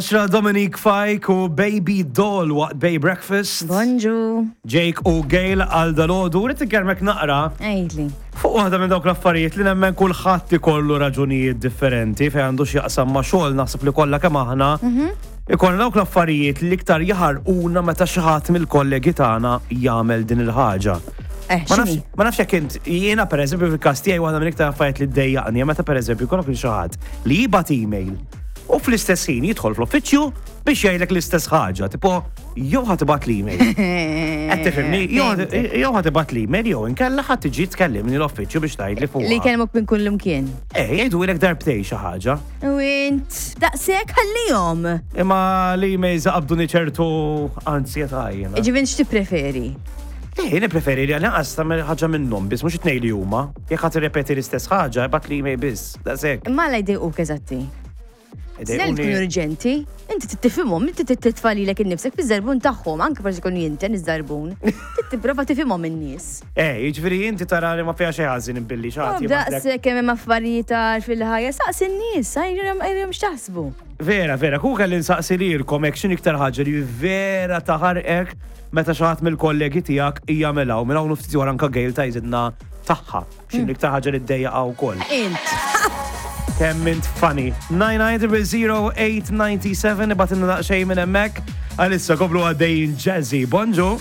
Xra Dominique Fike u Baby Doll waqt Bay Breakfast. Bonġu. Jake u Gail għal dalodu. Rrid inkellmek naqra. Għidli. Fuq waħda minn dawk l-affarijiet li nemmen kulħadd ikollu raġunijiet differenti fejn għandu x'jaqsam ma' xogħol naħseb li kollha kemm aħna. Mhm. Ikollna dawk l-affarijiet li iktar jaħarquna meta xi ħadd mill-kollegi tagħna jagħmel din il-ħaġa. Eh, ma nafx jekk int jiena pereżempju fil-każ tiegħi waħda minn iktar affarijiet li ddejjaqni meta pereżempju jkollok lil xi ħadd li jibgħat email u fl-istess ħin jidħol fl-uffiċċju biex jgħidlek l-istess ħaġa, tipo jew ħa tibgħat l-email. Qed tifhimni, jew ħa tibgħat l-email jew inkella ħa tiġi tkellimni l-uffiċċju biex tgħidli fuq. Li jkellmuk minn kull imkien. Eh, jgħidulek darbtej xi ħaġa. U int daqshekk ħallihom. Imma l-emails qabduni ċertu ansjetà jiena. Ġifieri x'tippreferi? Eh, jien nippreferi li għal-inqas tagħmel ħaġa minnhom biss, mhux it-tnejn li huma. Jekk ħa tirrepeti l-istess ħaġa, ibgħat l-email biss. Daqshekk. Imma għala jdejquk eżatti? Snell tkun urġenti, inti tifhimhom, inti titfa' lilek innifsek fiż-żarbun tagħhom, anke forsi jkun jinten iż-żarbun. Tipprova tifhimhom in-nies. Eh, jiġifieri inti tara li ma fiha xejn ħażin billi xi ħadd Daqshekk kemm hemm affarijiet għar fil-ħajja, saqsi n-nies, għajrhom x'taħsbu. Vera, vera, ku kelli nsaqsi lilkom hekk x'inhi iktar ħaġa li vera taħarqek meta xi ħadd mill-kollegi tiegħek jagħmilha u minn hawn ftit wara anke Gail tgħidilna tagħha. X'inhi iktar ħaġa li ddejjaqha wkoll. Int. Kemm int funny. 990 ibgħatilna daqsxejn minn hemmhekk. Għalissa komplu għaddejjin Jazzy. Bonġu.